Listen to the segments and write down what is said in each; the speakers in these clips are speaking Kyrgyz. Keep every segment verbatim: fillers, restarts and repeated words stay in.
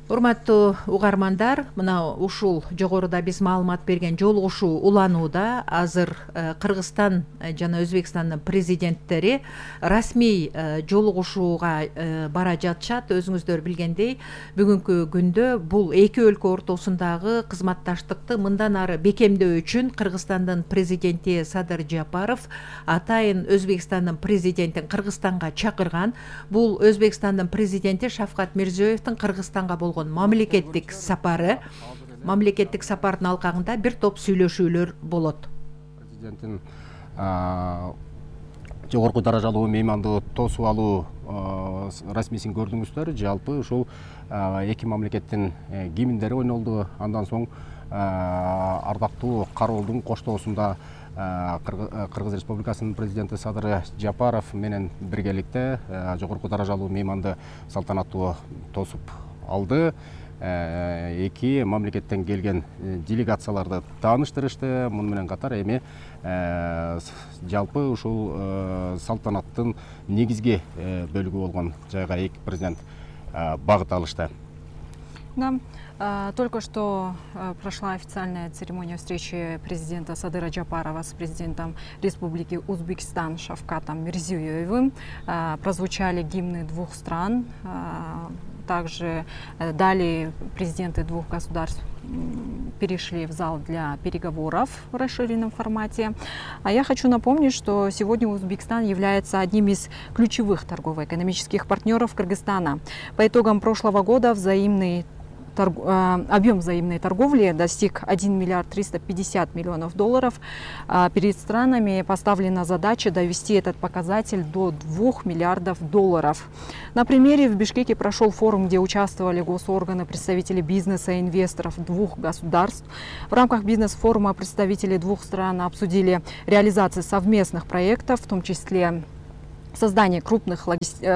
Урматтуу угармандар, мына ушул жогоруда биз маалымат берген жолугушуу уланууда азыр Кыргызстан жана Өзбекстандын президенттери расмий жолугушууга бара жатышат. Өзүңүздөр билгендей, бүгүнкү күндө бул эки өлкө ортосундагы кызматташтыкты мындан ары бекемдөө үчүн Кыргызстандын президенти Садыр Жапаров атайын Өзбекстандын президентин Кыргызстанга чакырган. Бул Өзбекстандын президенти Шавкат Мирзиёевдин Кыргызстанга болгон мамлекеттик сапары. Мамлекеттик сапардын алкагында бир топ сүйлөшүүлөр болот. Президенттин жогорку даражалуу мейманды тосуп алуу расмийсин көрдүңүздөр. Жалпы ушул эки мамлекеттин гимндери ойнолду. Андан соң ардактуу кароолдун коштоосунда Кыргыз Республикасынын президенти Садыр Жапаров менен биргеликте жогорку даражалуу мейманды салтанаттуу тосуп алды. Эки мамлекеттен келген делегацияларды тааныштырышты. Муну менен катар эми жалпы ушул салтанаттын негизги бөлүгү болгон жайга эки президент багыт алышты. Да, только что прошла официальная церемония встречи президента Садыра Джапарова с президентом Республики Узбекистан Шавкатом Мирзиёевым. Прозвучали гимны двух стран. Также далее президенты двух государств перешли в зал для переговоров в расширенном формате. А я хочу напомнить, что сегодня Узбекистан является одним из ключевых торгово-экономических партнеров Кыргызстана. По итогам прошлого года взаимный Торг... объем взаимной торговли достиг один миллиард триста пятьдесят миллионов долларов. Перед странами поставлена задача довести этот показатель до двух миллиардов долларов. На примере в Бишкеке прошел форум, где участвовали госорганы, представители бизнеса и инвесторов двух государств. В рамках бизнес-форума представители двух стран обсудили реализацию совместных проектов, в том числе Создание, крупных,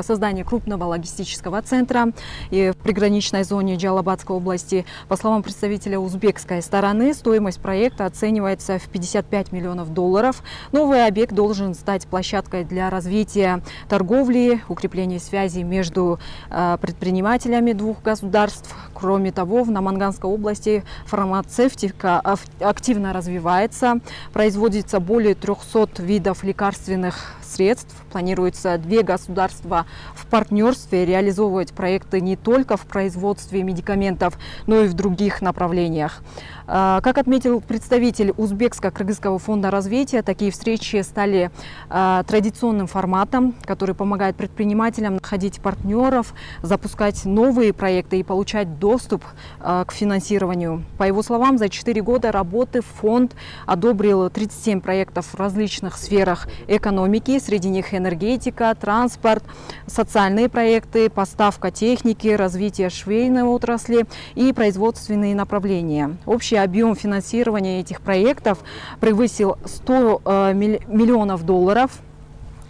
создание крупного логистического центра и в приграничной зоне Джалабадской области. По словам представителя узбекской стороны, стоимость проекта оценивается в пятьдесят пять миллионов долларов. Новый объект должен стать площадкой для развития торговли, укрепления связей между предпринимателями двух государств. Кроме того, в Наманганской области фармацевтика активно развивается. Производится более трехсот видов лекарственных средств. Планируется две государства в партнерстве реализовывать проекты не только в производстве медикаментов, но и в других направлениях. Как отметил представитель Узбекско-Кыргызского фонда развития, такие встречи стали традиционным форматом, который помогает предпринимателям находить партнеров, запускать новые проекты и получать доступ к финансированию. По его словам, за четыре года работы фонд одобрил тридцать семь проектов в различных сферах экономики, среди них энергетика, транспорт, социальные проекты, поставка техники, развитие швейной отрасли и производственные направления. Общий объем финансирования этих проектов превысил сто миллионов долларов.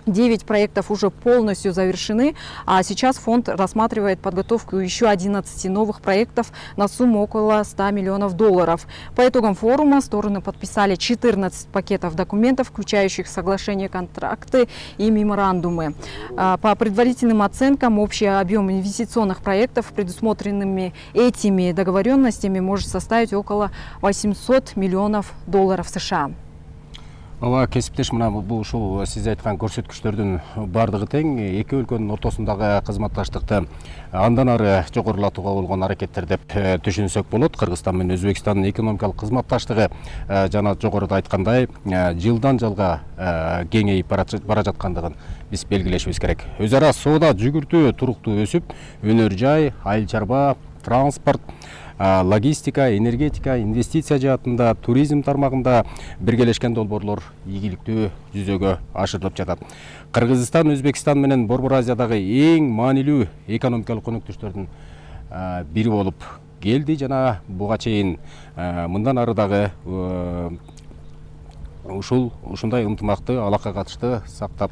девять проектов уже полностью завершены, а сейчас фонд рассматривает подготовку еще одиннадцати новых проектов на сумму около ста миллионов долларов. По итогам форума стороны подписали четырнадцать пакетов документов, включающих соглашения, контракты и меморандумы. По предварительным оценкам, общий объем инвестиционных проектов, предусмотренными этими договоренностями, может составить около восьмисот миллионов долларов США. Ооба, кесиптеш, мына бул ушул сиз айткан көрсөткүчтөрдүн бардыгы тең. Эки өлкөнүн ортосундагы кызматташтыкты андан ары жогорулатууга болгон аракеттер деп түшүнсөк болот. Кыргызстан менен Өзбекстандын экономикалык кызматташтыгы жана жогоруда айткандай жылдан жылга кеңейип бара жаткандыгын биз белгилешибиз керек. Өз ара соода жүгүртүү туруктуу өсүп, өнөр жай, айыл чарба, транспорт, логистика, энергетика, инвестиция жаатында, туризм тармагында биргелешкен долбоорлор ийгиликтүү жүзөгө ашырылып жатат. Кыргызстан Өзбекстан менен Борбор Азиядагы эң маанилүү экономикалык өнөктөштөрдүн бири болуп келди жана буга чейин мындан ары дагы ушул ушундай ынтымакты алакка катышты сактап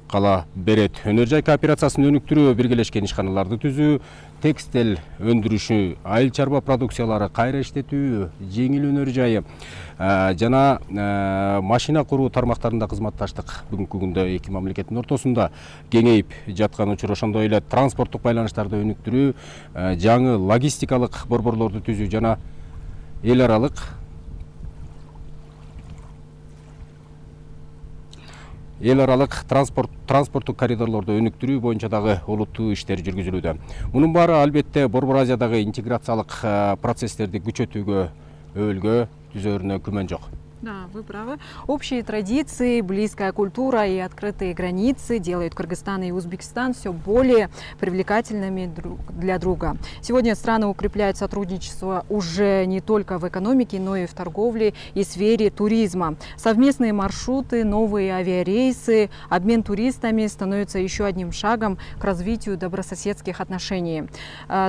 кала берет. Өнөр жай кооперациясын өнүктүрүү, биргелешкен ишканаларды түзүү, текстиль өндүрүшү, айыл чарба продукциялары кайра иштетүү, жеңил өнөр жайы жана машина куруу тармактарында кызматташтык бүгүнкү күндө эки мамлекеттин ортосунда кеңейип жаткан учур. Ошондой эле транспорттук байланыштарды өнүктүрүү, жаңы логистикалык борборлорду түзүү жана эл аралык эл аралык транспорт транспорттук коридорлорду өнүктүрүү боюнча дагы олуттуу иштер жүргүзүлүүдө. Мунун баары албетте Борбор Азиядагы интеграциялык процесстерди күчөтүүгө, өбөлгө түзөрүнө күмөн жок. Да, вы правы. Общие традиции, близкая культура и открытые границы делают Кыргызстан и Узбекистан все более привлекательными друг для друга. Сегодня страны укрепляют сотрудничество уже не только в экономике, но и в торговле и сфере туризма. Совместные маршруты, новые авиарейсы, обмен туристами становятся еще одним шагом к развитию добрососедских отношений.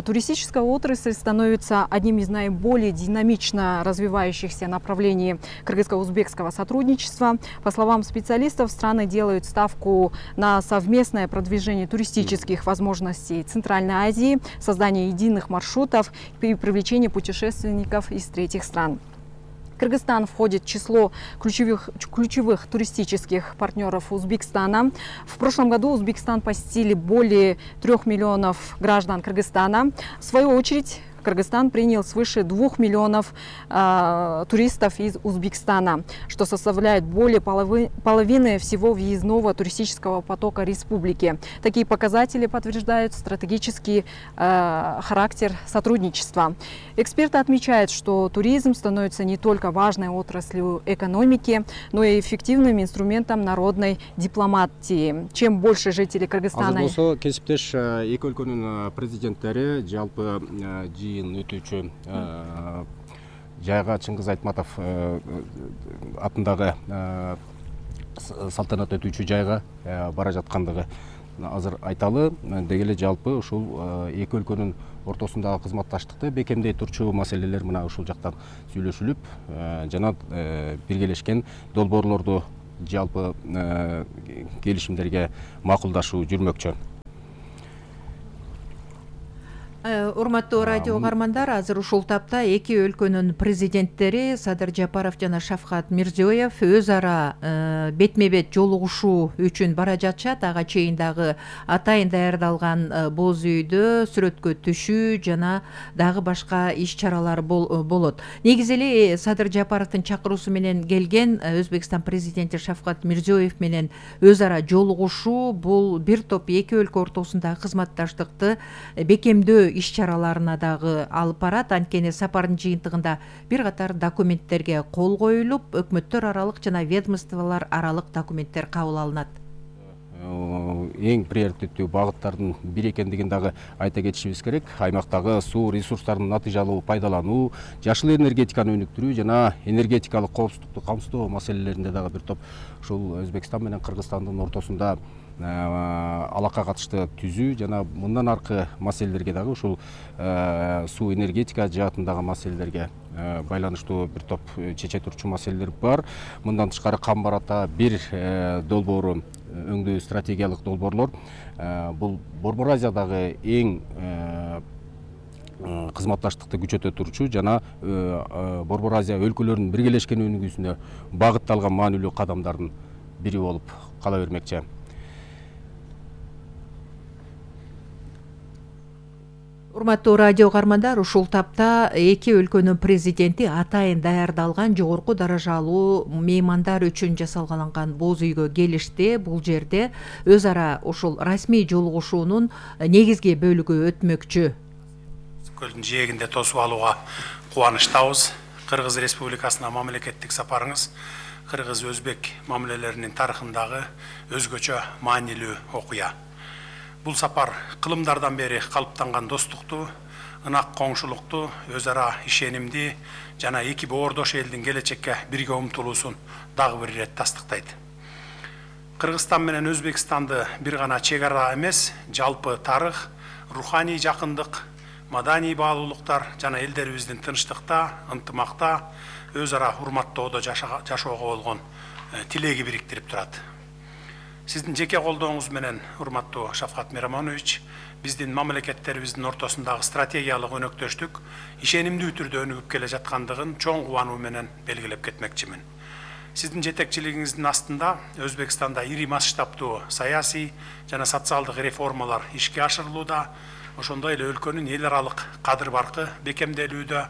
Туристическая отрасль становится одним из наиболее динамично развивающихся направлений кыргызско-узбекского сотрудничества. По словам специалистов, страны делают ставку на совместное продвижение туристических возможностей Центральной Азии, создание единых маршрутов и привлечение путешественников из третьих стран. Кыргызстан входит в число ключевых, ключевых туристических партнеров Узбекистана. В прошлом году Узбекистан посетили более трех миллионов граждан Кыргызстана. В свою очередь, Кыргызстан принял свыше двух миллионов э, туристов из Узбекистана, что составляет более половы, половины всего въездного туристического потока республики. Такие показатели подтверждают стратегический э, характер сотрудничества. Эксперты отмечают, что туризм становится не только важной отраслью экономики, но и эффективным инструментом народной дипломатии. Чем больше жителей Кыргызстана... Кесиптеш эки өлкөнүн президенттери жалпы жыйын өтүүчү жайга Чыңгыз Айтматов атындагы салтанат өтүүчү жайга бара жаткандыгы азыр айталы. Деги эле жалпы ушул эки өлкөнүн ортосундагы кызматташтыкты бекемдей турчу маселелер мына ушул жактан сүйлөшүлүп жана биргелешкен долбоорлорду жалпы келишимдерге макулдашуу жүрмөкчү. Урматтуу радио угармандар, азыр ушул тапта эки өлкөнүн президенттери Садыр Жапаров жана Шавкат Мирзиёев өз ара бетме бет жолугушуу үчүн бара жатышат. Ага чейин дагы атайын даярдалган боз үйдө сүрөткө түшүү жана дагы башка иш чаралар болот. Негизи эле Садыр Жапаровдун чакыруусу менен келген Өзбекстан президенти Шавкат Мирзиёев менен өз ара жолугушуу бул бир топ эки өлкө ортосундагы кызматташтыкты бекемдөө иш-чараларына дагы алып барат. Анткени сапардын жыйынтыгында бир катар документтерге кол коюлуп, өкмөттөр аралык жана ведомстволор аралык документтер кабыл алынат. Эң приоритеттүү багыттардын бири экендигин дагы айта кетишибиз керек. Аймактагы суу ресурстарын натыйжалуу пайдалануу, жашыл энергетиканы өнүктүрүү жана энергетикалык коопсуздукту камсыздоо маселелеринде дагы бир топ ушул Өзбекстан менен Кыргызстандын ортосунда алака катышты түзүү жана мындан аркы маселелерге дагы ушул суу энергетика жаатындагы маселелерге байланыштуу бир топ чече турчу маселелер бар. Мындан тышкары Камбарата бир долбоору өңдүү стратегиялык долбоорлор. Бул Борбор Азиядагы эң кызматташтыкты күчөтө турчу жана Борбор Азия өлкөлөрүнүн биргелешкен өнүгүүсүнө багытталган маанилүү кадамдардын бири болуп кала бермекчи. Урматтуу радио угармандар, ушул тапта эки өлкөнүн президенти атайын даярдалган жогорку даражалуу меймандар үчүн жасалган боз үйгө келишти. Бул жерде өз ара ушул расмий жолугушуунун негизги бөлүгү өтмөкчү. Көлдүн жээгинде тосуп алууга кубанычтабыз. Кыргыз Республикасына мамлекеттик сапарыңыз кыргыз-өзбек мамилелеринин тарыхындагы өзгөчө маанилүү окуя. Бул сапар кылымдардан бери калыптанган достукту, ынак коңшулукту, өз ара ишенимди жана эки боордош элдин келечекке бирге умтулуусун дагы бир ирет тастыктайт. Кыргызстан менен Өзбекстанды бир гана чек ара эмес, жалпы тарых, руханий жакындык, маданий баалуулуктар жана элдерибиздин тынчтыкта, ынтымакта, өз ара урматтоодо жашоого болгон тилеги бириктирип турат. Сиздин жеке колдооңуз менен, урматтуу Шавкат Мирамонович, биздин мамлекеттерибиздин ортосундагы стратегиялык өнөктөштүк ишенимдүү түрдө өнүгүп келе жаткандыгын чоң кубануу менен белгилеп кетмекчимин. Сиздин жетекчилигиңиздин астында Өзбекстанда ири масштабтуу саясий жана социалдык реформалар ишке ашырылууда, ошондой эле өлкөнүн эл аралык кадыр баркы бекемделүүдө.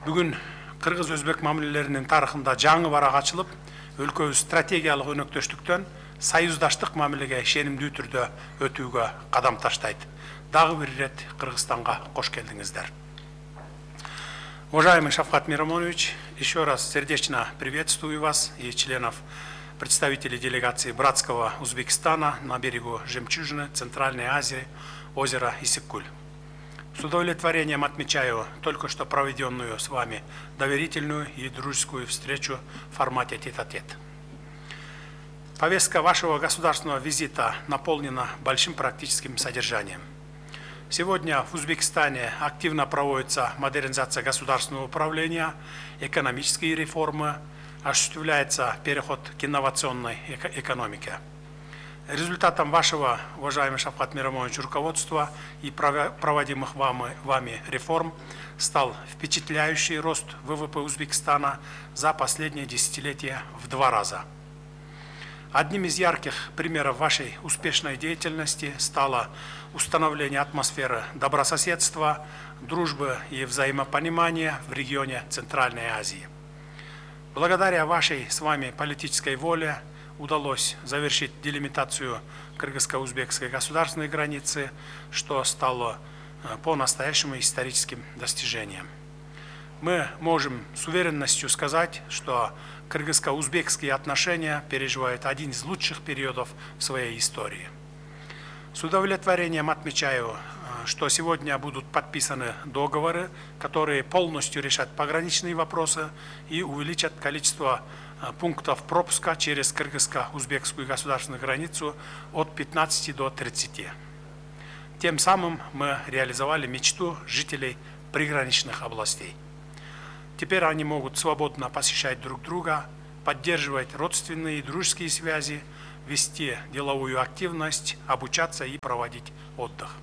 Бүгүн кыргыз-өзбек мамилелеринин тарыхында жаңы барак ачылып, өлкөбүз стратегиялык өнөктөштүктөн союздаштык мамилеге ишенимдүү түрдө өтүүгө кадам таштайт. Дагы бир ирет Кыргызстанга кош келдиңиздер. Уважаемый Шавкат Мирамонович, еще раз сердечно приветствую вас и членов, представителей делегации братского Узбекистана на берегу Жемчужины, Центральной Азии, озера Иссык-Куль. С удовлетворением отмечаю только что проведенную с вами доверительную и дружескую встречу в формате тет-а-тет. Повестка вашего государственного визита наполнена большим практическим содержанием. Сегодня в Узбекистане активно проводится модернизация государственного управления, экономические реформы, осуществляется переход к инновационной экономике. Результатом вашего, уважаемый Шавкат Мирамонович, руководства и проводимых вами, вами реформ стал впечатляющий рост вэ вэ пэ Узбекистана за последние десятилетия в два раза. Одним из ярких примеров вашей успешной деятельности стало установление атмосферы добрососедства, дружбы и взаимопонимания в регионе Центральной Азии. Благодаря вашей с вами политической воле удалось завершить делимитацию кыргызско-узбекской государственной границы, что стало по-настоящему историческим достижением. Мы можем с уверенностью сказать, что кыргызско-узбекские отношения переживают один из лучших периодов в своей истории. С удовлетворением отмечаю, что сегодня будут подписаны договоры, которые полностью решат пограничные вопросы и увеличат количество пунктов пропуска через кыргызско-узбекскую государственную границу от пятнадцати до тридцати. Тем самым мы реализовали мечту жителей приграничных областей. Теперь они могут свободно посещать друг друга, поддерживать родственные и дружеские связи, вести деловую активность, обучаться и проводить отдых.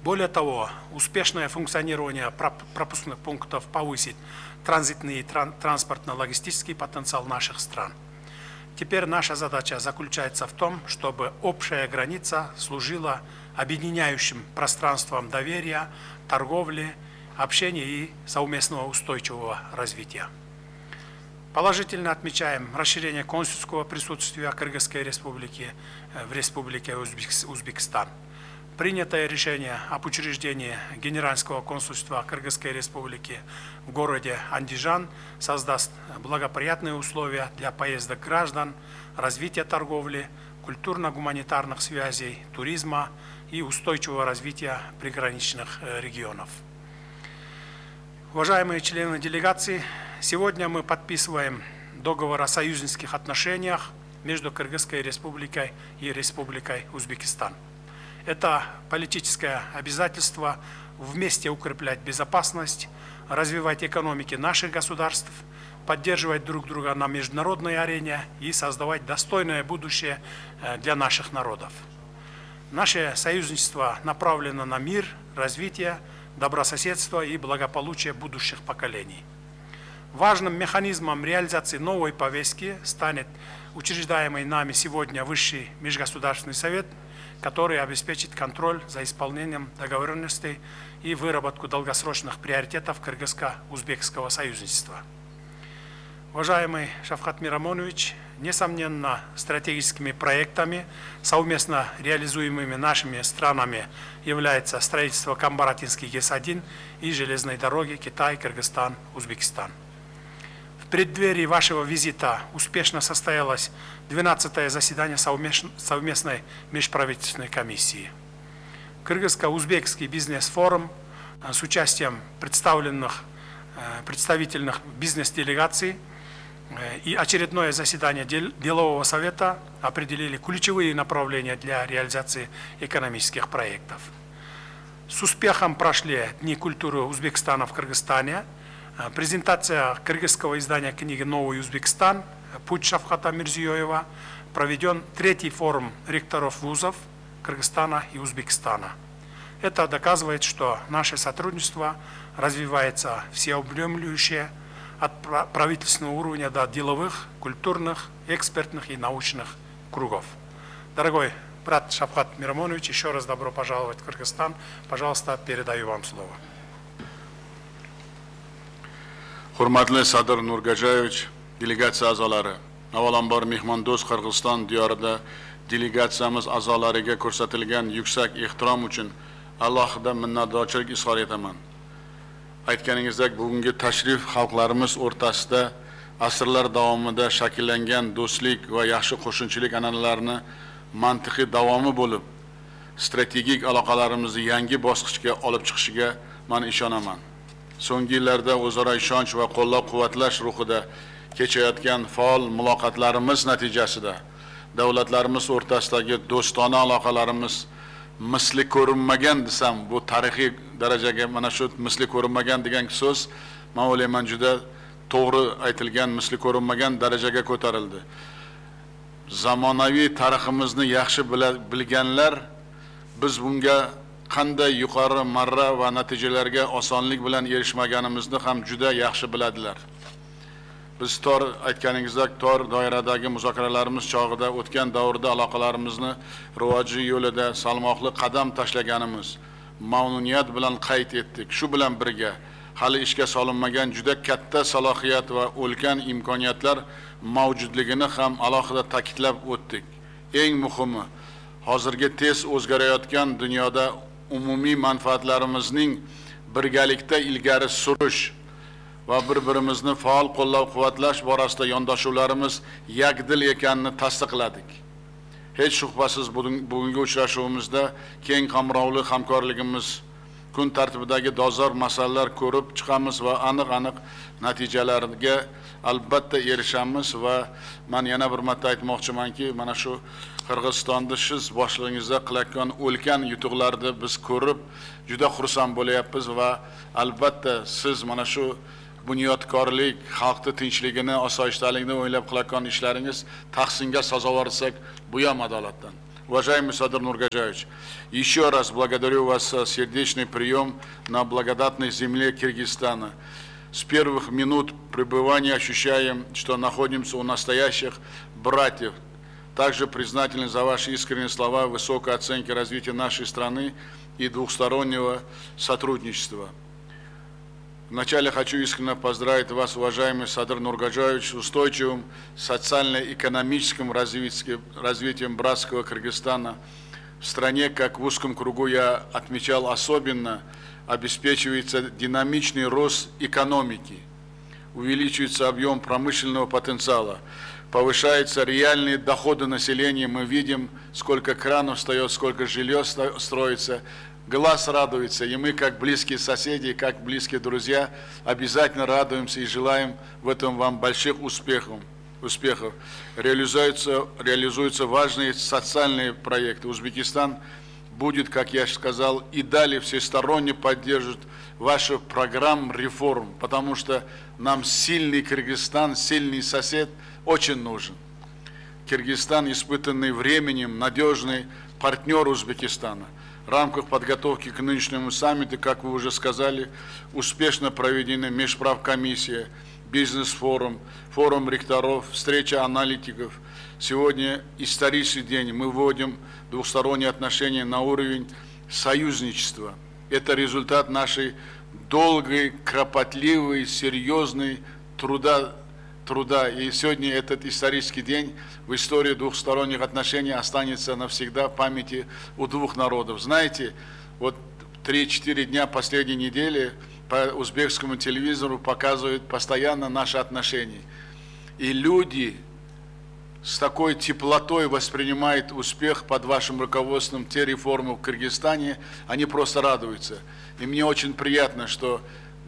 Более того, успешное функционирование пропускных пунктов повысит транзитный и транспортно-логистический потенциал наших стран. Теперь наша задача заключается в том, чтобы общая граница служила объединяющим пространством доверия, торговли, общения и совместного устойчивого развития. Положительно отмечаем расширение консульского присутствия Кыргызской республики в Республике Узбекистан. Принятое решение об учреждении Генерального консульства Кыргызской республики в городе Андижан создаст благоприятные условия для поездок граждан, развития торговли, культурно-гуманитарных связей, туризма и устойчивого развития приграничных регионов. Уважаемые члены делегации, сегодня мы подписываем договор о союзнических отношениях между Кыргызской республикой и Республикой Узбекистан. Это политическое обязательство вместе укреплять безопасность, развивать экономики наших государств, поддерживать друг друга на международной арене и создавать достойное будущее для наших народов. Наше союзничество направлено на мир, развитие, добрососедство и благополучие будущих поколений. Важным механизмом реализации новой повестки станет учреждаемый нами сегодня Высший межгосударственный совет, который обеспечит контроль за исполнением договоренностей и выработку долгосрочных приоритетов кыргызско-узбекского союзничества. Уважаемый Шавкат Мирамонович, несомненно, стратегическими проектами, совместно реализуемыми нашими странами, является строительство Камбаратинский ГЭС один и железной дороги Китай-Кыргызстан-Узбекистан. В преддверии вашего визита успешно состоялось двенадцатое заседание совместной межправительственной комиссии. Кыргызско-узбекский бизнес-форум с участием представленных представительных бизнес-делегаций и очередное заседание делового совета определили ключевые направления для реализации экономических проектов. С успехом прошли Дни культуры Узбекистана в Кыргызстане, презентация кыргызского издания книги «Новый Узбекистан. Путь Шавката Мирзиёева», проведен третий форум ректоров вузов Кыргызстана и Узбекистана. Это доказывает, что наше сотрудничество развивается всеобъемлюще от правительственного уровня до деловых, культурных, экспертных и научных кругов. Дорогой брат Шавкат Мирамонович, еще раз добро пожаловать в Кыргызстан. Пожалуйста, передаю вам слово. Hurmatli Sadir Nurgajayevich, delegatsiya a'zolari, avvalambor mehmondo'st Qirg'iziston diyorida delegatsiyamiz a'zolariga ko'rsatilgan yuksak ehtirom uchun alohida minnatdorchilik izhor etaman. Aytganingizdek, bugungi tashrif xalqlarimiz o'rtasida asrlar davomida shakllangan do'stlik va yaxshi qo'shnichilik an'analarini mantiqiy davomi bo'lib, strategik aloqalarimizni yangi bosqichga olib chiqishiga men ishonaman. So'nggi yillarda o'zaro ishonch va qo'llab-quvvatlash ruhida kechayotgan faol muloqotlarimiz natijasida davlatlarimiz o'rtasidagi do'stona aloqalarimiz misli ko'rinmagan desam, bu tarixiy darajaga, mana shu misli ko'rinmagan degan so'z men o'ylayman juda to'g'ri aytilgan, misli ko'rinmagan darajaga ko'tarildi. Zamonaviy tariximizni yaxshi bilganlar biz bunga qanday yuqori marra va natijalarga osonlik bilan erishmaganimizni ham juda yaxshi biladilar. Biz tor aytganingizdek tor doiradagi muzokaralarimiz chog'ida o'tgan davrda aloqalarimizni rivoji yo'lida salmoqli qadam tashlaganimiz, mamnuniyat bilan qayd etdik. Shu bilan birga hali ishga solinmagan juda katta salohiyat va ulkan imkoniyatlar mavjudligini ham alohida ta'kidlab o'tdik. Eng muhimi, hozirgi tez o'zgarayotgan dunyoda umumiy manfaatlarimizning birgalikda ilgari surish va bir-birimizni faol qo'llab-quvvatlash borasida yondashuvlarimiz yakdil ekanini tasdiqladik. Hech shubhasiz bugungi uchrashuvimizda keng qamrovli hamkorligimiz, kun tartibidagi dolzarb masalalar ko'rib chiqamiz va aniq-aniq natijalarga albatta erishamiz va men yana bir marta aytmoqchimanki, mana shu Qirg'izistonda siz boshlig'ingizda qilayotgan ulkan yutuqlarni biz ko'rib juda xursand bo'lyapmiz va albatta siz mana shu bunyodkorlik, xalqning tinchligini, osoyishtaligini o'ylab qilayotgan ishlaringiz tahsinga sazovor desak, bu ham adolatdan. Уважаемый Садыр Нургажаевич, еще раз благодарю вас за сердечный прием на благодатной земле Киргизстана. С первых минут пребывания ощущаем, что находимся у настоящих братьев. Также признательны за ваши искренние слова высокой оценки развития нашей страны и двухстороннего сотрудничества. Вначале хочу искренне поздравить вас, уважаемый Садыр Нургажаевич, с устойчивым социально-экономическим развитием братского Кыргызстана. В стране, как в узком кругу я отмечал особенно, обеспечивается динамичный рост экономики, увеличивается объем промышленного потенциала, повышаются реальные доходы населения. Мы видим, сколько кранов встает, сколько жилья строится. Глаз радуется, и мы, как близкие соседи, как близкие друзья, обязательно радуемся и желаем в этом вам больших успехов. успехов. Реализуются, реализуются важные социальные проекты. Узбекистан будет, как я сказал, и далее всесторонне поддерживать вашу программу реформ, потому что нам сильный Кыргызстан, сильный сосед очень нужен. Кыргызстан, испытанный временем, надежный партнер Узбекистана. В рамках подготовки к нынешнему саммиту, как вы уже сказали, успешно проведены межправкомиссия, бизнес-форум, форум ректоров, встреча аналитиков. Сегодня исторический день. Мы вводим двухсторонние отношения на уровень союзничества. Это результат нашей долгой, кропотливой, серьезной труда. труда. И сегодня этот исторический день в истории двухсторонних отношений останется навсегда в памяти у двух народов. Знаете, вот три-четыре дня последней недели по узбекскому телевизору показывают постоянно наши отношения. И люди с такой теплотой воспринимают успех под вашим руководством, те реформы в Кыргызстане, они просто радуются. И мне очень приятно, что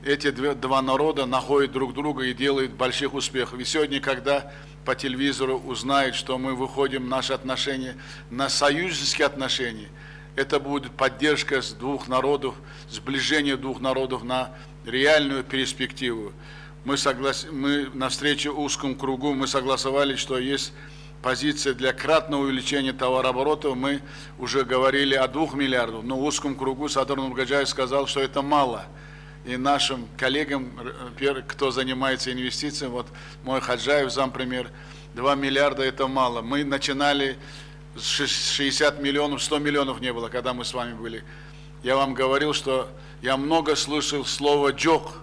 эти два народа находят друг друга и делают больших успехов. И сегодня, когда по телевизору узнают, что мы выходим наши отношения на союзнические отношения, это будет поддержка с двух народов, сближение двух народов на реальную перспективу. Мы, соглас... мы на встрече узкому кругу мы согласовали, что есть позиция для кратного увеличения товарооборота, мы уже говорили о двух миллиардах, но в узком кругу Садыр Нургаджаев сказал, что это мало. И нашим коллегам, кто занимается инвестициями, вот мой Хаджаев, зампремьер, два миллиарда это мало. Мы начинали с шестидесяти миллионов, сто миллионов не было, когда мы с вами были. Я вам говорил, что я много слышал слово «джок».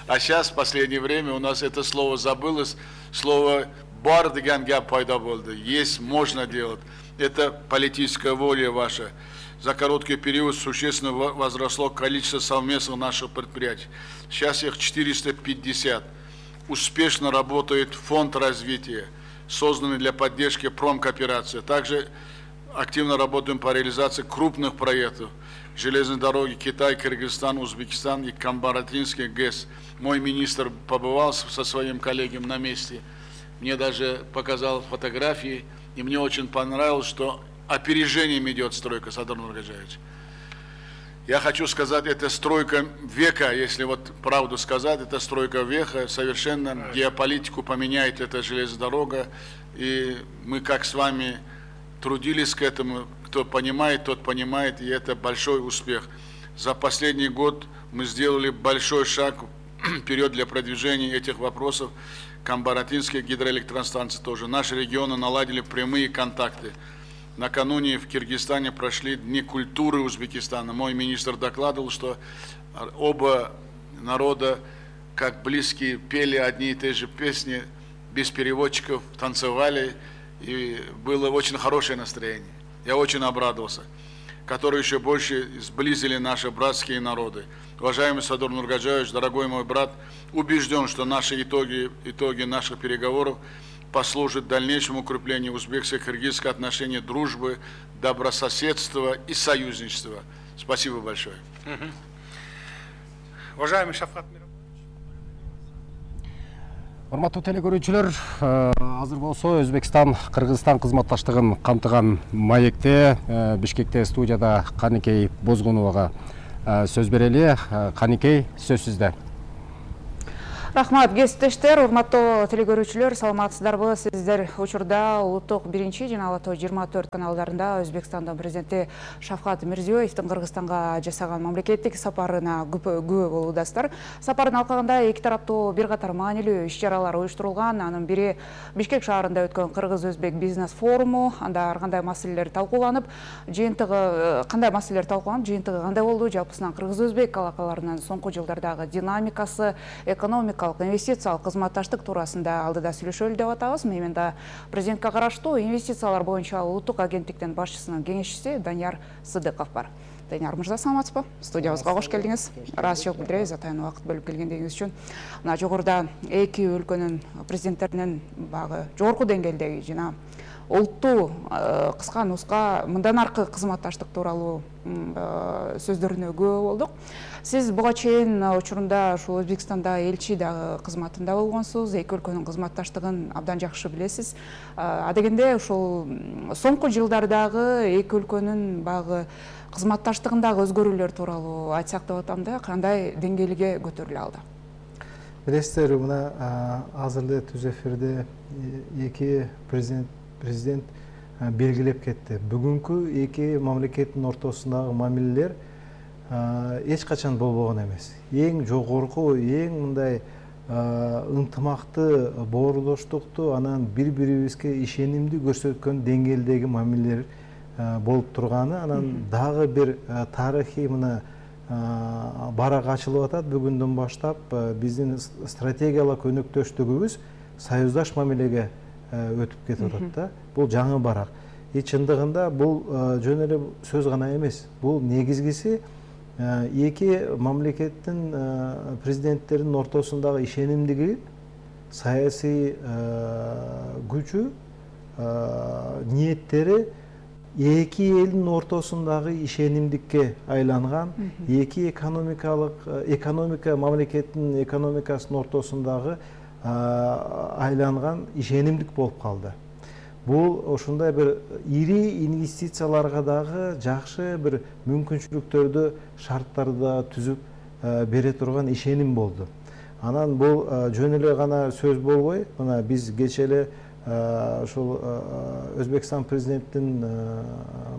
А сейчас в последнее время у нас это слово забылось, слово «бар» деген гап пайда болды. Есть, можно делать. Это политическая воля ваша. За короткий период существенно возросло количество совместных наших предприятий. Сейчас их четыреста пятьдесят. Успешно работает фонд развития, созданный для поддержки промкооперации. Также активно работаем по реализации крупных проектов. Железные дороги Китай, Кыргызстан, Узбекистан и Камбаратинский ГЭС. Мой министр побывал со своим коллегом на месте. Мне даже показал фотографии. И мне очень понравилось, что опережением идет стройка, Садыр Нургаджаевич. Я хочу сказать, это стройка века, если вот правду сказать, это стройка века, совершенно геополитику поменяет эта железная дорога. И мы как с вами трудились к этому, кто понимает, тот понимает, и это большой успех. За последний год мы сделали большой шаг вперед для продвижения этих вопросов. Камбаратинские гидроэлектростанции тоже. Наши регионы наладили прямые контакты. Накануне в Киргизстане прошли Дни культуры Узбекистана. Мой министр докладывал, что оба народа, как близкие, пели одни и те же песни, без переводчиков, танцевали, и было очень хорошее настроение. Я очень обрадовался, которые еще больше сблизили наши братские народы. Уважаемый Садыр Нургаджаевич, дорогой мой брат, убежден, что наши итоги, итоги наших переговоров послужат дальнейшему укреплению узбекско-кыргызских отношений, дружбы, добрососедства и союзничества. Спасибо большое. Уважаемый Шавкат Мирович. Урматтуу телекөрүүчүлөр, азыр болсо Өзбекстан Кыргызстан кызматташтыгын камтыган маекте Бишкекте студияда Каникей Бозгуновага сөз берели. Каникей, сөз сизде. Рахмат, кесиптештер, урматтуу телекөрүүчүлөр, саламатсыздарбы? Сиздер учурда улуттук биринчи жана ала тоо жыйырма төрт каналдарында Өзбекстандын президенти Шавкат Мирзиёевдин Кыргызстанга жасаган мамлекеттик сапарына күбө болуудасыздар. Сапардын алкагында эки тараптуу бир катар маанилүү иш-чаралар уюштурулган. Анын бири Бишкек шаарында өткөн Кыргыз-Өзбек бизнес форуму. Анда ар кандай маселелер талкууланып, жыйынтыгы кандай маселелер талкууланып, жыйынтыгы кандай болду? Жалпысынан Кыргыз-Өзбек алакаларынын соңку жылдардагы динамикасы, экономика инвестициялык кызматташтык туурасында алдыда сүйлөшөлү деп атабыз. Мен да президентке караштуу инвестициялар боюнча улуттук агенттиктин башчысынын кеңешчиси Данияр Сыдыков бар. Данияр мырза, саламатсызбы? Студиябызга кош келдиңиз. Ыраазычылык билдиребиз атайын убакыт бөлүп келгендигиңиз үчүн. Мына жогоруда эки өлкөнүн президенттеринин багы жогорку деңгээлдеги жана улуттуу кыска нуска мындан аркы кызматташтык тууралуу сөздөрүнө күбө болдук. Сиз буга чейин учурунда ушул Өзбекстанда элчи дагы кызматында болгонсуз, эки өлкөнүн кызматташтыгын абдан жакшы билесиз. Адегенде ушул соңку жылдардагы эки өлкөнүн багы кызматташтыгындагы өзгөрүүлөр тууралуу айтсак деп атам да, кандай деңгээлге көтөрүлө алды? Билесиздер, мына азыр эле түз эфирде эки президент президент белгилеп кетти. Бүгүнкү эки мамлекеттин ортосундагы мамилелер эч качан болбогон эмес. Эң жогорку, эң мындай ынтымакты, боордоштукту, анан бири-бирибизге ишенимди көрсөткөн деңгээлдеги мамилелер болуп турганы, анан дагы бир тарыхый мына барак ачылып атат. Бүгүндөн баштап биздин стратегиялык өнөктөштүгүбүз союздаш мамилеге өтүп кетип атат да. Бул жаңы барак. И чындыгында бул жөн эле сөз гана эмес. Бул негизгиси эки мамлекеттин президенттеринин ортосундагы ишенимдиги, саясий күчү, ниеттери эки элдин ортосундагы ишенимдикке айланган, эки экономикалык экономика мамлекеттин экономикасынын ортосундагы айланган ишенимдик болуп калды. Бул ошондой бир ири инвестицияларга дагы жакшы бир мүмкүнчүлүктөрдү, шарттарды түзүп бере турган ишеним болду. Анан бул жөн эле гана сөз болбой, мына биз кечээ эле ошол Өзбекстан президентинин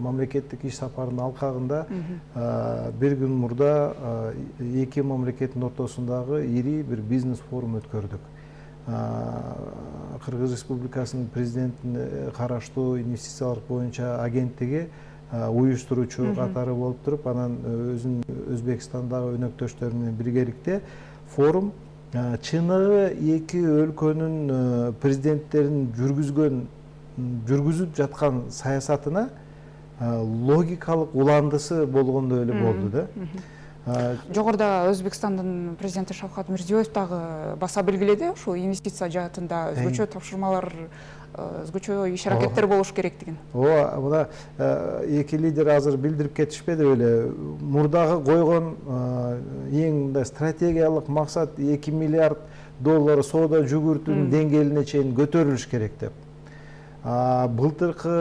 мамлекеттик иш сапарынын алкагында бир күн мурда эки мамлекеттин ортосундагы ири бир бизнес форум өткөрдүк. Кыргыз Республикасынын президентине караштуу инвестициялар боюнча агенттиги уюштуруучу катары болуп туруп, анан өзүнүн Өзбекстандагы өнөктөштөрү менен биргеликте форум чыныгы эки өлкөнүн президенттеринин жүргүзгөн жүргүзүп жаткан саясатына логикалык уландысы болгондой эле болду да. Жогоруда Өзбекстандын президенти Шавкат Мирзиёев дагы баса белгиледи, ушул инвестиция жаатында өзгөчө тапшырмалар, өзгөчө иш аракеттер болуш керектигин. Ооба, мына эки лидер азыр билдирип кетишпеди беле, мурдагы койгон эң мындай стратегиялык максат эки миллиард доллар соода жүгүртүүнүн деңгээлине чейин көтөрүлүш керек деп. Былтыркы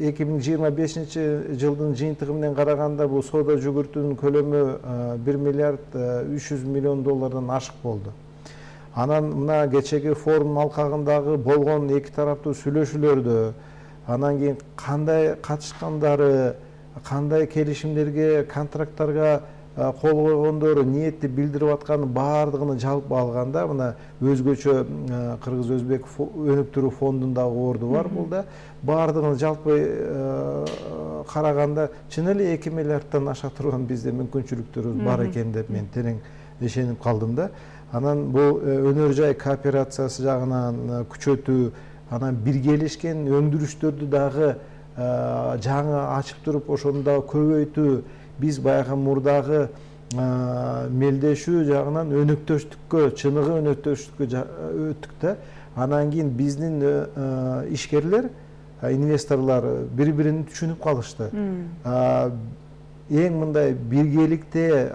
эки миң жыйырма бешинчи жылдын жыйынтыгы менен караганда бул соода жүгүртүүнүн көлөмү бир миллиард үч жүз миллион доллардан ашык болду. Анан мына кечеги форумдун алкагындагы болгон эки тараптуу сүйлөшүүлөрдө, анан кийин кандай катышкандары, кандай келишимдерге, контракттарга кол койгондору, ниетти билдирип атканы баардыгын жалпы алганда, мына өзгөчө Кыргыз-Өзбек өнүктүрүү фондундагы орду бар бул да. Баардыгын жалпы караганда чын эле эки миллиарддан аша турган бизде мүмкүнчүлүктөрүбүз бар экен деп мен терең ишенип калдым да. Анан бул өнөр жай кооперациясы жагынан күчөтүү, анан биргелешкен өндүрүштөрдү дагы жаңы ачып туруп ошону дагы көбөйтүү, биз баягы мурдагы мелдешүү жагынан өнөктөштүккө, чыныгы өнөктөштүккө өттүк да. Анан кийин биздин ишкерлер, инвесторлор бири-бирин түшүнүп калышты. Эң мындай биргеликте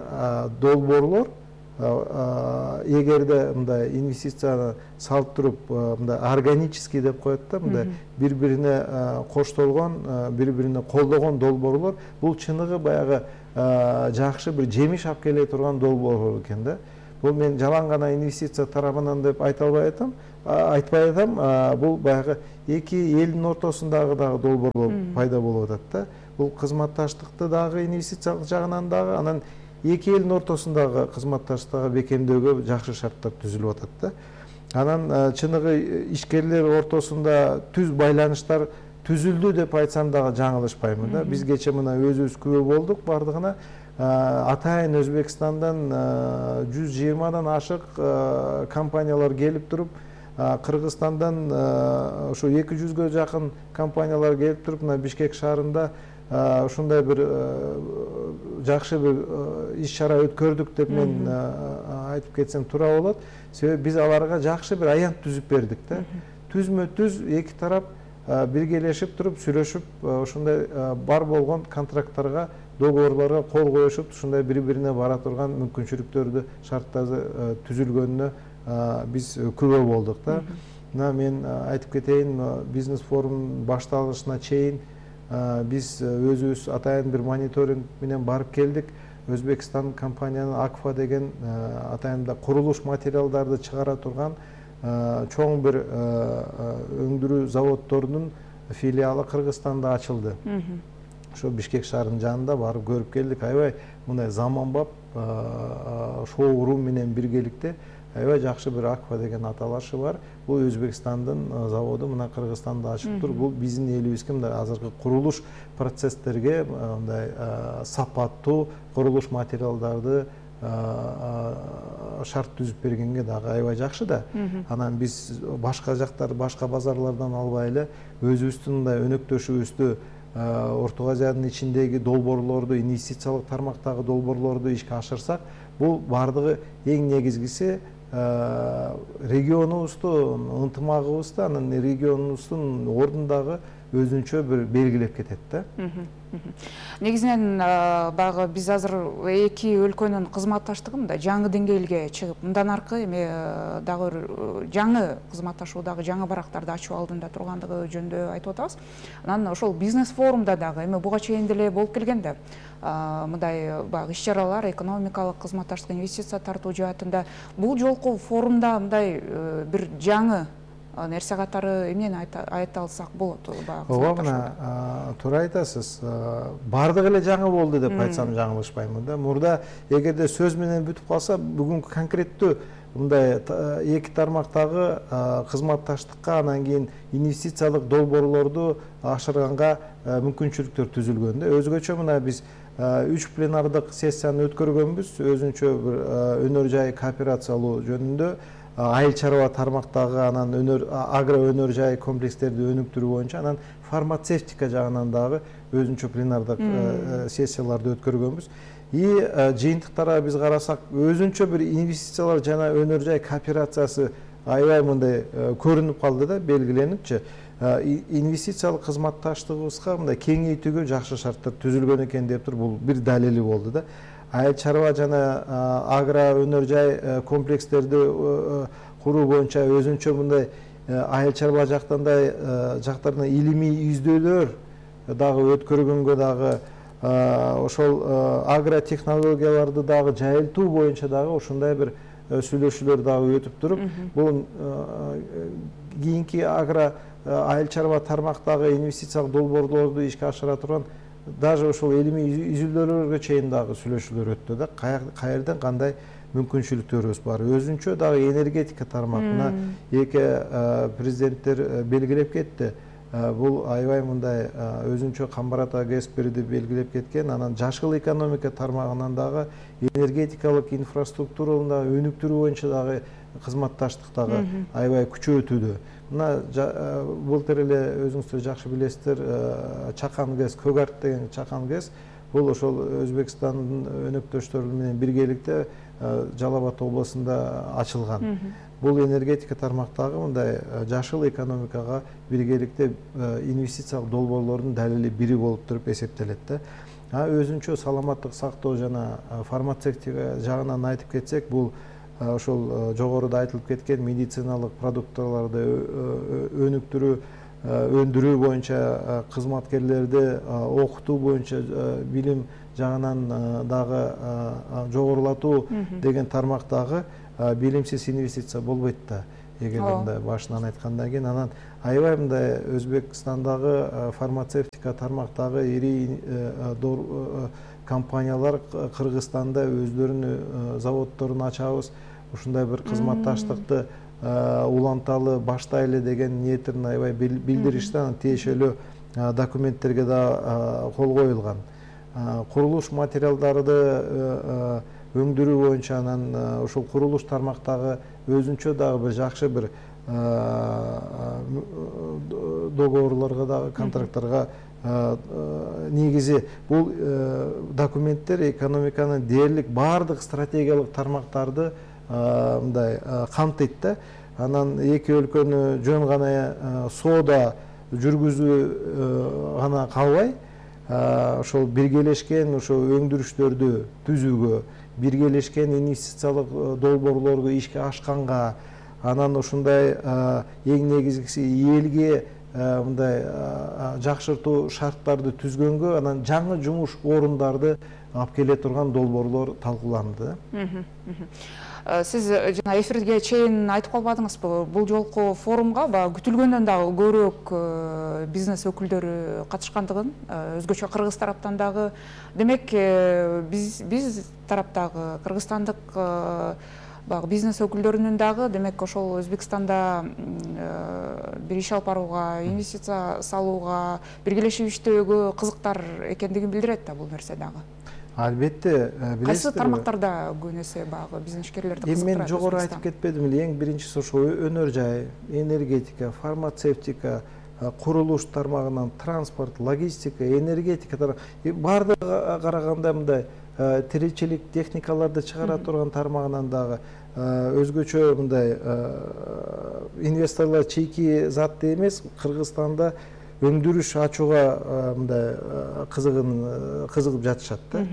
долбоорлор, эгерде мындай инвестицияны салып туруп, мындай органический деп коет да, мындай бири-бирине коштолгон, бири-бирине колдогон долбоорлор, бул чыныгы баягы жакшы бир жемиш алып келе турган долбоорлор экен да. Бул мен жалаң гана инвестиция тарабынан деп айта албай атам, айтпай атам, бул баягы эки элдин ортосундагы дагы долбоорлор пайда болуп атат да. Бул кызматташтыкты дагы инвестициялык жагынан дагы, анан эки элдин ортосундагы кызматташтыкты бекемдөөгө жакшы шарттар түзүлүп атат да. Анан чыныгы ишкерлер ортосунда түз байланыштар түзүлдү деп айтсам дагы жаңылышпаймын да. Биз кече мына өзүбүз күбө болдук бардыгына. Атайын Өзбекстандан жүз жыйырмадан ашык компаниялар келип туруп, Кыргызстандан ошо эки жүзгө жакын компаниялар келип туруп, мына Бишкек шаарында ушундай бир жакшы бир иш-чара өткөрдүк деп мен айтып кетсем туура болот. Себеби биз аларга жакшы бир аянт түзүп бердик да. Түзмө түз эки тарап биргелешип туруп, сүйлөшүп, ушундай бар болгон контракттарга, договорлорго кол коюшуп, ушундай бири-бирине бара турган мүмкүнчүлүктөрдү, шарттарды түзүлгөнүнө биз күбө болдук да. Мына мен айтып кетейин, бизнес форум башталышына чейин биз өзүбүз атайын бир мониторинг менен барып келдик. Өзбекстан компаниянын Акфа деген атайында курулуш материалдарды чыгара турган чоң бир өндүрүү заводдорунун филиалы Кыргызстанда ачылды. Ошо Бишкек шаарынын жанында барып көрүп келдик. Аябай мындай заманбап шоурум менен биргеликте аябай жакшы бир Акфа деген аталашы бар. Бул Өзбекстандын заводу мына Кыргызстанда ачып тур. Бул биздин элибизге мындай азыркы курулуш процесстерге мындай сапаттуу курулуш материалдарды шарт түзүп бергенге дагы аябай жакшы да. Анан биз башка жактар, башка базарлардан албай эле өзүбүздүн мындай өнөктөшүбүздү, Орто Азиянын ичиндеги долбоорлорду, инвестициялык тармактагы долбоорлорду ишке ашырсак, бул бардыгы эң негизгиси регионубузду, ынтымагыбызды, анан регионубуздун ордундагы өзүнчө бир белгилеп кетет да. Негизинен баягы биз азыр эки өлкөнүн кызматташтыгы мындай жаңы деңгээлге чыгып, мындан аркы эми дагы бир жаңы кызматташуудагы жаңы барактарды ачуу алдында тургандыгы жөнүндө айтып атабыз. Анан ошол бизнес форумда дагы эми буга чейин деле болуп келген да. Мындай баягы иш-чаралар экономикалык кызматташтык, инвестиция тартуу жаатында бул жолку форумда мындай бир жаңы нерсе катары эмнени айта алсак болот? Ооба, мына туура айтасыз. Бардыгы эле жаңы болду деп айтсам жаңылышпаймын да. Мурда эгерде сөз менен бүтүп калса, бүгүнкү конкреттүү мындай эки тармактагы кызматташтыкка, анан кийин инвестициялык долбоорлорду ашырганга мүмкүнчүлүктөр түзүлгөн да. Өзгөчө мына биз үч пленардык сессияны өткөргөнбүз, өзүнчө бир өнөр жай кооперациялоо жөнүндө, айыл чарба тармактагы, анан өнөр агро өнөр жай комплекстерди өнүктүрүү боюнча, анан фармацевтика жагынан дагы өзүнчө пленардык сессияларды өткөргөнбүз. И жыйынтыктарга биз карасак, өзүнчө бир инвестициялар жана өнөр жай кооперациясы аябай мындай көрүнүп калды да, белгиленипчи. Инвестициялык кызматташтыгыбызга мындай кеңейтүүгө жакшы шарттар түзүлгөн экен деп туруп, бул бир далили болду да. Айыл чарба жана агро өнөр жай комплекстерди куруу боюнча өзүнчө мындай айыл чарба жактандай жактарына илимий издөөлөр дагы өткөргөнгө дагы, ошол агротехнологияларды дагы жайылтуу боюнча дагы ушундай бир сүйлөшүүлөр дагы өтүп туруп, бул кийинки агро айыл чарба тармактагы инвестициялык долбоорлорду ишке ашыра турган даже ошол илимий изилдөөлөргө чейин дагы сүйлөшүүлөр өттү да. Каерден кандай мүмкүнчүлүктөрүбүз бар. Өзүнчө дагы энергетика тармагына эки президенттер белгилеп кетти. Бул аябай мындай өзүнчө камбарата кесиптерди белгилеп кеткен. Анан жашыл экономика тармагынан дагы энергетикалык инфраструктураны дагы өнүктүрүү боюнча дагы кызматташтык дагы аябай күчөтүүдө. Мына былтыр эле өзүңүздөр жакшы билесиздер, Чакан ГЭС, Көк Арт деген Чакан ГЭС, бул ошол Өзбекстандын өнөктөштөрү менен биргеликте Жалал Абад областында ачылган. Бул энергетика тармактагы мындай жашыл экономикага биргеликте инвестициялык долбоорлордун далили бири болуп туруп эсептелет да. Өзүнчө саламаттык сактоо жана фармацевтика жагынан айтып кетсек, бул ошол жогоруда айтылып кеткен медициналык продукттарды өнүктүрүү, өндүрүү боюнча кызматкерлерди окутуу боюнча билим жагынан дагы жогорулатуу деген тармактагы билимсиз инвестиция болбойт да. Эгер мындай башынан айткандан кийин, анан аябай мындай Өзбекстандагы фармацевтика тармактагы ири компаниялар Кыргызстанда өздөрүнүн заводдорун ачабыз, ушундай бир кызматташтыкты уланталы баштайлы деген ниеттерин аябай билдиришти. Анан тиешелүү документтерге да кол коюлган. Курулуш материалдарды өндүрүү боюнча, анан ошол курулуш тармактагы өзүнчө дагы бир жакшы бир договорлорго дагы, контракттарга негизи бул документтер экономиканын дээрлик баардык стратегиялык тармактарды мындай камтыйт да. Анан эки өлкөнү жөн гана соода жүргүзүү гана калбай, ошол биргелешкен ошол өндүрүштөрдү түзүүгө, биргелешкен инвестициялык долбоорлорго ишке ашканга, анан ушундай эң негизгиси элге мындай жакшыртуу шарттарды түзгөнгө, анан жаңы жумуш орундарды алып келе турган долбоорлор талкууланды. Сиз жана эфирге чейин айтып калбадыңызбы, бул жолку форумга күтүлгөндөн дагы көбүрөөк бизнес өкүлдөрү катышкандыгын, өзгөчө кыргыз тараптан дагы. Демек, биз биз тараптагы кыргызстандык бизнес өкүлдөрүнүн дагы, демек, ошол Өзбекстанда бир иш алып барууга, инвестиция салууга, биргелешип иштөөгө кызыктар экендигин билдирет да бул нерсе дагы. Албетте, билесиздер. Кайсы тармактарда көбүнесе багы бизнешкерлерди кызыктырат? Мен жогору айтып кетпедимби эле, эң биринчиси ошол өнөр жай, энергетика, фармацевтика, курулуш тармагынан транспорт, логистика, энергетика, баардыгы караганда мындай тиричилик техникаларды чыгара турган тармагынан дагы өзгөчө мындай инвесторлор чийки затты эмес, Кыргызстанда өндүрүш ачууга мындай кызыгын кызыгып жатышат да.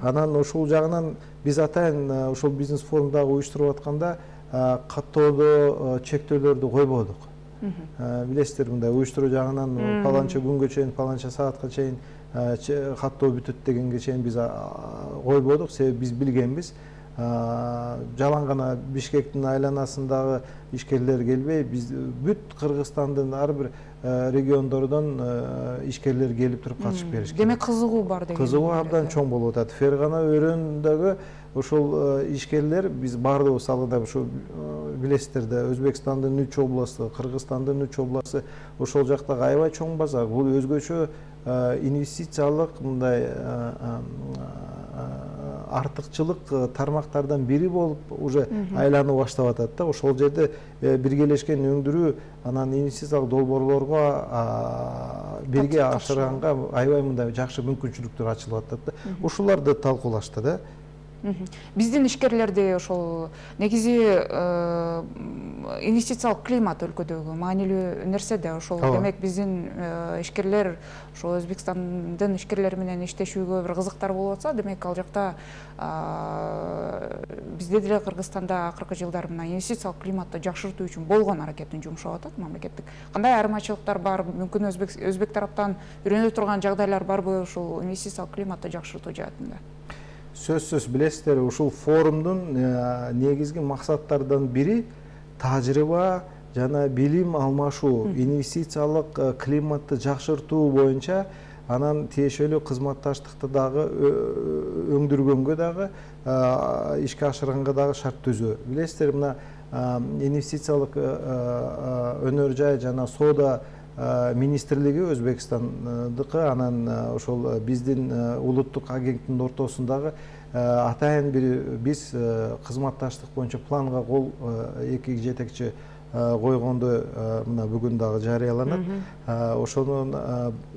Анан ушул жагынан биз атайын ушул бизнес форумдагы уюштуруп атканда каттоодо чектөөлөрдү койбодук. Билесиздер, мындай уюштуруу жагынан паланча күнгө чейин, паланча саатка чейин каттоо бүтөт дегенге чейин биз койбодук. Себеби биз билгенбиз, жалаң гана Бишкектин айланасындагы ишкерлер келбей, биз бүт Кыргызстандын ар бир региондордон ишкерлер келип туруп катышып беришкен. Демек кызыгуу бар деген. Кызыгуу абдан чоң болуп атат. Фергана өрөөнүндөгү ошол ишкерлер биз бардыгыбыз алгыда ушу билесиздер да, Өзбекстандын үч областы, Кыргызстандын үч областы, ошол жактагы аябай чоң базар. Бул өзгөчө инвестициялык мындай артыкчылык тармактардан бири болуп уже айланып баштап атат да. Ошол жерде биргелешкен өндүрүү анан инвестициялык долбоорлорго бирге ашырганга аябай мындай жакшы мүмкүнчүлүктөр ачылып атат да. Ушуларды талкуулашты да. Биздин ишкерлерди ошол негизи инвестициялык климат өлкөдөгү маанилүү нерсе да. Ошол демек биздин ишкерлер ошол Өзбекстандын ишкерлери менен иштешүүгө бир кызыктар болуп атса, демек ал жакта бизде деле Кыргызстанда акыркы жылдары мына инвестициялык климатты жакшыртуу үчүн болгон аракетин жумшап атат мамлекеттик. Кандай айырмачылыктар бар? Мүмкүн өзбек өзбек тараптан үйрөнө турган жагдайлар барбы ушул инвестициялык климатты жакшыртуу жаатында? Сөзсүз, билесиздер, ушул форумдун негизги максаттарынан бири тажрыйба жана билим алмашуу, инвестициялык климатты жакшыртуу боюнча, анан тиешелүү кызматташтыкты дагы өңдүргөнгө дагы, ишке ашырганга дагы шарт түзүү. Билесиздер, мына инвестициялык өнөр жай жана соода министрлиги Өзбекстандыкы, анан ошол биздин улуттук агенттиктин ортосундагы атайын бир биз кызматташтык боюнча планга кол эки жетекчи койгонду мына бүгүн дагы жарыяланат. Ошонун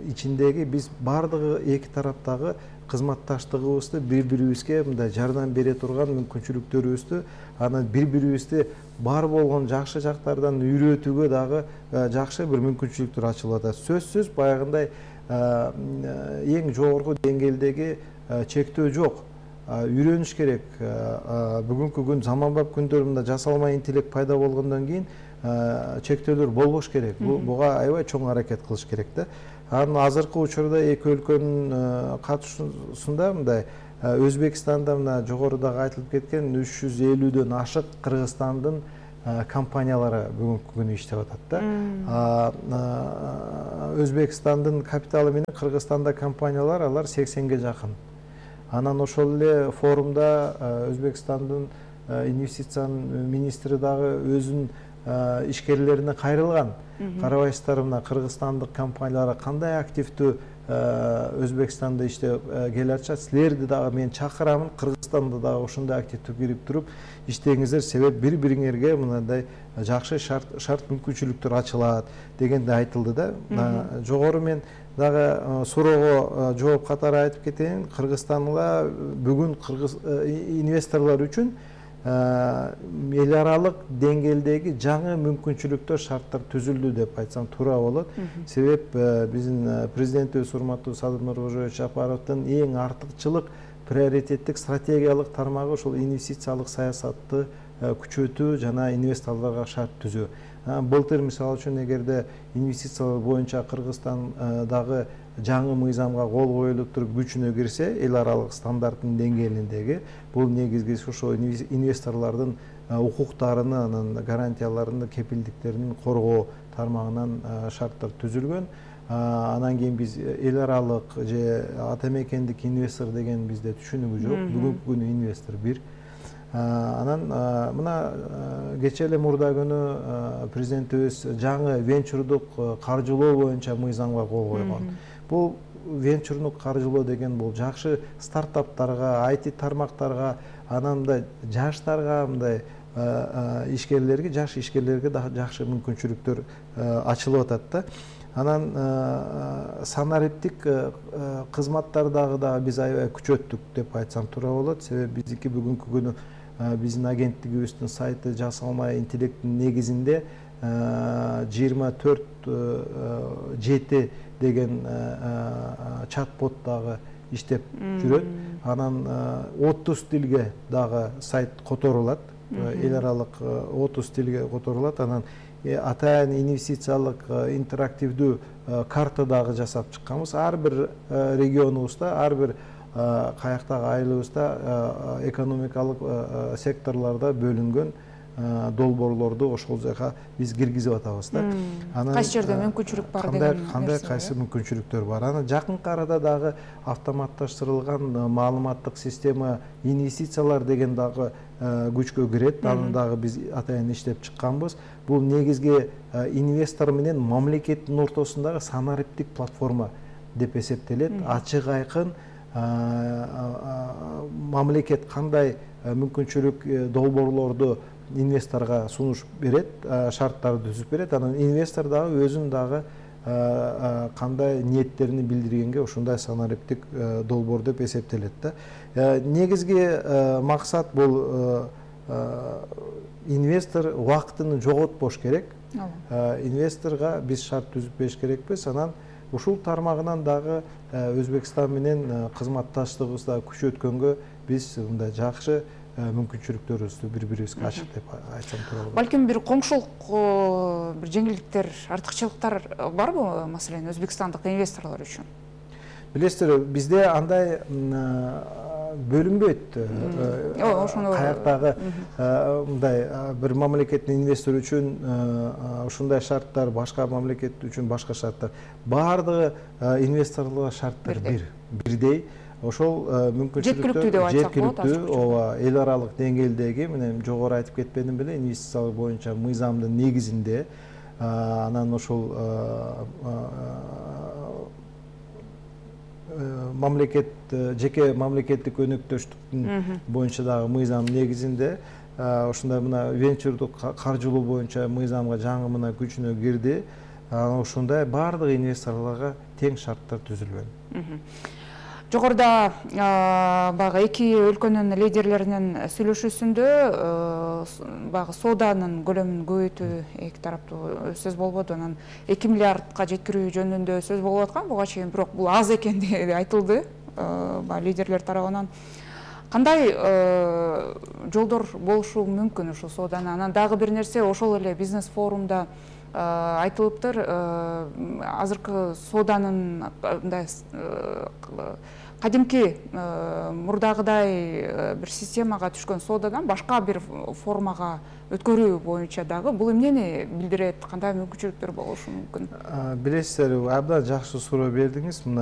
ичиндеги биз бардыгы эки тараптагы кызматташтыгыбызды бири-бирибизге мындай жардам бере турган мүмкүнчүлүктөрүбүздү, анан бири-бирибизди бар болгон жакшы жактардан үйрөтүүгө дагы жакшы бир мүмкүнчүлүктөр ачылып атат. Сөзсүз, баягындай эң жогорку деңгээлдеги чектөө жок. Үйрөнүш керек. Бүгүнкү күн заманбап күндөрүндө жасалма интеллект пайда болгондон кийин чектөөлөр болбош керек. Буга аябай чоң аракет кылыш керек да. Анан азыркы учурда эки өлкөнүн катышуусунда мындай Өзбекстанда мына жогорудагы айтылып кеткен үч жүз элүүдөн ашык Кыргызстандын компаниялары бүгүнкү күнү иштеп атат да. Өзбекстандын капиталы менен Кыргызстанда компаниялар алар сексенге жакын. Анан ошол эле форумда Өзбекстандын инвестициянын министри дагы өзүнүн ишкерлерине кайрылган. Карабайсыздар, мына кыргызстандык компаниялар кандай активдүү Өзбекстанда иштеп келе атышат. Силерди дагы мен чакырамын, Кыргызстанда дагы ошондой активдүү кирип туруп иштеңиздер, себеп бири-бириңерге мындай жакшы шарт шарт мүмкүнчүлүктөр ачылат дегенде айтылды да. Жогору мен дагы суроого жооп катары айтып кетейин. Кыргызстанда бүгүн кыргыз инвесторлор үчүн эл аралык деңгээлдеги жаңы мүмкүнчүлүктөр, шарттар түзүлдү деп айтсам туура болот. Себеп биздин президентибиз урматтуу Садыр Нуркожоевич Жапаровдун эң артыкчылык приоритеттик стратегиялык тармагы ошол инвестициялык саясатты күчөтүү жана инвесторлорго шарт түзүү. Былтыр мисалы үчүн эгерде инвестициялар боюнча Кыргызстандагы жаңы мыйзамга кол коюлуп туруп күчүнө кирсе, эл аралык стандарттын деңгээлиндеги, бул негизгиси ошо инвесторлордун укуктарын, анан гарантияларын, кепилдиктерин коргоо тармагынан шарттар түзүлгөн. Анан кийин биз эл аралык же ата мекендик инвестор деген бизде түшүнүгү жок. Бүгүнкү күнү инвестор бир. Анан мына кечээ эле мурда күнү президентибиз жаңы венчурдук каржылоо боюнча мыйзамга кол койгон. Бул венчурдук каржылоо деген бул жакшы стартаптарга, ай ти тармактарга, анан мындай жаштарга, мындай ишкерлерге, жаш ишкерлерге да жакшы мүмкүнчүлүктөр ачылып атат да. Анан санариптик кызматтардагы да биз аябай күчөттүк деп айтсам туура болот. Себеби биздики бүгүнкү күнү биздин агенттигибиздин сайты жасалма интеллекттин негизинде жыйырма төрт жети деген чат-бот дагы иштеп жүрөт. Анан отуз тилге дагы сайт которулат. Эл аралык отуз тилге которулат. Анан атайын инвестициялык интерактивдүү карта дагы жасап чыкканбыз. Ар бир регионубузда, ар бир каяктагы айылыбызда экономикалык секторлордо бөлүнгөн долбоорлорду ошол жака биз киргизип атабыз да. Кайсы жерде мүмкүнчүлүк бар деген кандай кайсы мүмкүнчүлүктөр бар. Анан жакынкы арада дагы автоматташтырылган маалыматтык система инвестициялар деген дагы күчкө кирет. Аны дагы биз атайын иштеп чыкканбыз. Бул негизги инвестор менен мамлекеттин ортосундагы санариптик платформа деп эсептелет. Ачык айкын мамлекет кандай мүмкүнчүлүк долбоорлорду инвесторго сунуш берет, шарттарды түзүп берет. Анан инвестор дагы өзүн дагы кандай ниеттерин билдиргенге ушундай санариптик долбоор деп эсептелет да. Негизги максат бул инвестор убактын жоготпош керек. Инвесторго биз шарт түзүп бериш керекпиз. Анан ушул тармагынан дагы Өзбекстан менен кызматташтыгыбызды күчөткөнгө биз мындай жакшы мүмкүнчүлүктөрүбүздү бири-бирибизге ачык деп айтсам туура болот. Балким бир коңшулук бир жеңилдиктер, артыкчылыктар барбы, маселен, өзбекстандык инвесторлор үчүн? Билесиздер, бизде андай бөлүнбөйт. Каяктагы мындай бир мамлекеттин инвестор үчүн ушундай шарттар, башка мамлекет үчүн башка шарттар. Баардыгы инвесторлорго шарттар бир, бирдей. Ошол мүмкүнчүлүктөр жеткиликтүү, ооба, эл аралык деңгээлдеги, менен жогору айтып кетпедим беле, инвестициялар боюнча мыйзамдын негизинде, анан ошол мамлекет, жеке мамлекеттик өнөктөштүктүн боюнча дагы мыйзам негизинде, ошондой мына венчурдук каржылоо боюнча мыйзамга жаңы мына күчүнө кирди. Ошондой баардык инвесторлорго тең шарттар түзүлгөн. Жогоруда багы эки өлкөнүн лидерлеринин сүйлөшүүсүндө багы сооданын көлөмүн көбөйтүү эки тараптуу сөз болбоду. Анан эки миллиардка жеткирүү жөнүндө сөз болуп аткан. Буга чейин бирок бул аз экендиги айтылды лидерлер тарабынан. Кандай жолдор болушу мүмкүн ушул сооданы? Анан дагы бир нерсе, ошол эле бизнес форумда айтылыптыр, азыркы сооданын мындай кадимки мурдагыдай бир системага түшкөн соодадан башка бир формага өткөрүү боюнча дагы бул эмнени билдирет, кандай мүмкүнчүлүктөр болушу мүмкүн? Билесиздер, абдан жакшы суроо бердиңиз.